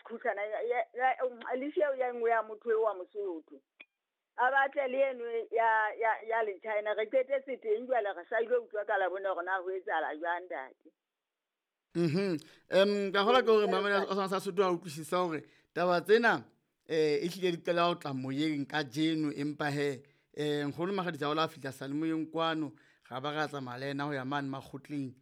Sekhuhlana lease eo ya nngwe ya motho eo wa Mosotho. A batle le eno ya le China re qetetse teng jwale re sa ile utlwa ka la bone hore na ho etsahala jwang ntate. Ka hola ke hore mamela o sa Sotho a utlwisisa hore taba tsena ehlile di qala ho tla moyeng kajeno, empa he nkgono Makgadisa o la fihla salemoyeng kwano, ra ba ra tsamaya le yena ho ya mane makgotleng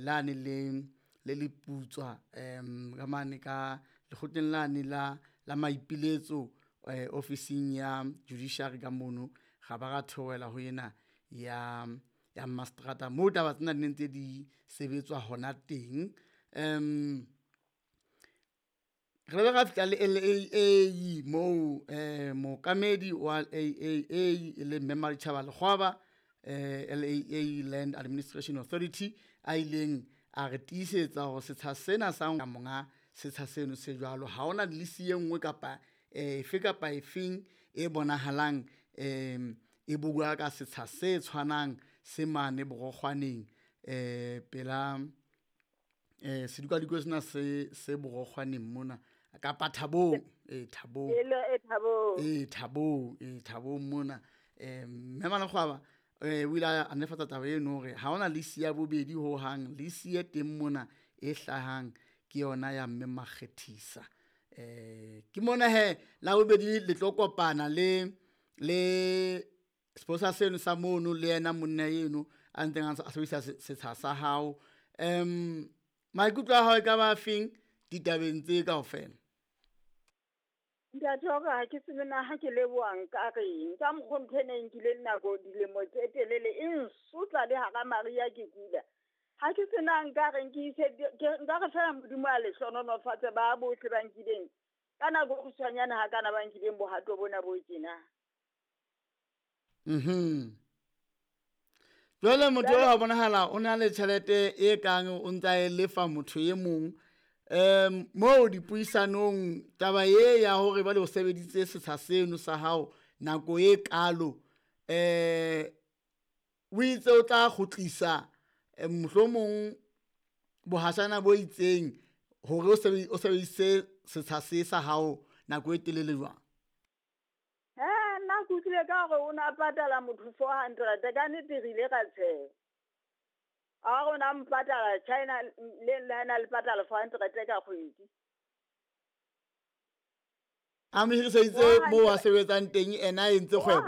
lane le leputswa ka mane ka lekgotleng lane la maipiletso ofising ya judiciary ka mono, ra ba ra theohela ho ena ya mastrata moo taba tsena di ne ntse di sebetswa hona teng. Re ile ra fihla le LAA moo mookamedi wa LAA e leng Mme Maditjhaba Lekgwaba, LAA Land Administration Authority, a ileng a re tiisetsa hore setsha sena sa monga setsha seno se jwalo, ha hona lease e nngwe kapa efe kapa efeng e bonahalang e bua ka setsha se tshwanang se mane Borokgwaneng pela sedikadikwe sena se Borokgwaneng mona kapa Thabong, Thabong. Thabong. Thabong, Thabong mona. Mme Malekgwaba o ile a netefatsa taba eno hore ha hona lease ya bobedi ho hang, lease e teng mona e hlahang ke yona ya Mme Makgethisa. Ke mona he la bobedi le tlo kopana le sepolesa seno sa mono le yena monna eno a ntseng a sebedisa setsha sa hao. Maikutlo a hao e ka ba afeng ditabeng tse kaofela? Ntate wa ka ha ke tsebe na ha ke leboha nka reng, ka mokgo ntho ena e nkileng nako dilemo tse telele e nsotla le hara mariha ke kula. Ha ke tsena nka reng ke ise nka re fela Modimo a le hlohonolofatse ba bohle ba nkileng ka nako e kgutshwanyane ha kana ba nkileng bohato bona bo tjena. Jwale motho eo a bonahala o na le tjhelete e kang o ntsa e lefa motho e mong. Moo dipuisanong taba e ya hore jwale o sebeditse setsha seno sa hao nako e kalo, o itse o tla kgutlisa mohlomong bohashana bo itseng hore o sebedise setsha se sa hao nako e telele jwang? Nna ke utlwile ka hore o na patala motho 400, ka nnete re ile ra tsheha. A re o na mpatala China le na le patala 400 ka kgwedi. A mo hiriseditse moo a sebetsang teng, ena a entse kgwebo.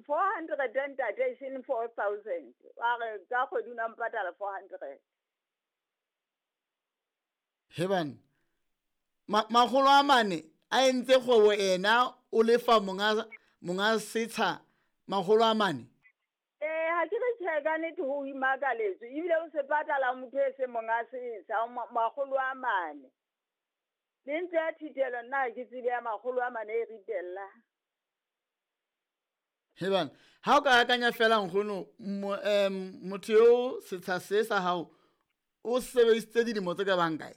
400 ntate, e seng 4,000. Wa re ka kgwedi o na mpatala 400. He bana, makgolo a mane a entse kgwebo ena o lefa monga setsha makgolo a mane. Ha ke re tjhe, ka nnete ho imakaletswe ebile o se patala motho e seng monga setsha makgolo a mane. Le ntlo ya thitelo nna ha ke tsebe ya makgolo a mane e ritella. He bana, ha o ka akanya fela nkgono, motho eo setsha se sa hao o sebedisitse dilemo tse ka bang kae?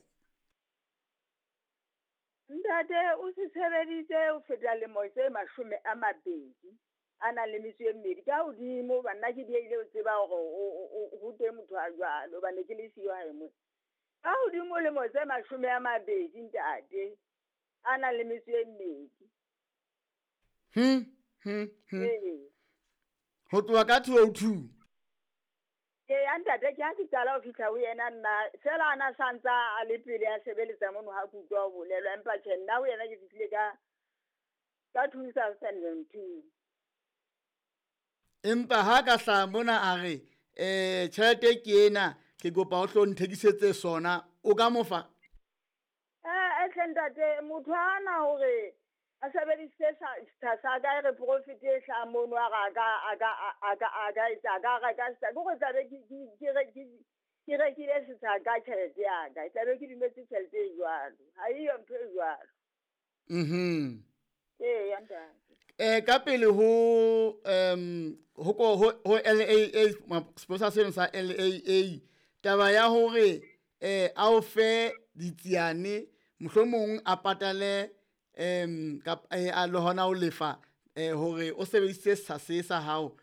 Ntate o se sebeditse ho feta lemo tse 20 a nang le metso e mmedi ka hodimo, hoba nna ke diehile ho tseba hore ho teng motho a jwalo, hobane ke le siyo hae mona. Ka hodimo lemo tse 20 ntate, a nang le metso e mmedi. Ho tloha ka 2002. Ee, ntate, ke ha ke qala ho fihla ho yena nna, fela a na sa ntsa a le pele a sebeletsa mono ha ke utlwa ho bolelwa, empa tjhe nna ho yena ke fihlile ka 2002. Empa ha ka hlaha mona a re, tjhelete ke ena, ke kopa o hlo nthekisetse sona, o ka mo fa? Hle ntate, motho ha ana hore a sebedisitse setsha sa ka, e re profit e hlahang mono, a re a ka etsa, a ka reka setsha. Ke hore tlabe ke rekile setsha ka tjhelete ya ka, tlabe ke dumetse tjhelete e jwalo. Ha eyo ntho e jwalo. Ee, ntate. Ka pele ho LAA, sepolesa seno sa LAA, taba ya hore a o fe ditsiane, mohlomong a patale a le hona ho lefa hore o sebedisitse setsha se sa hao.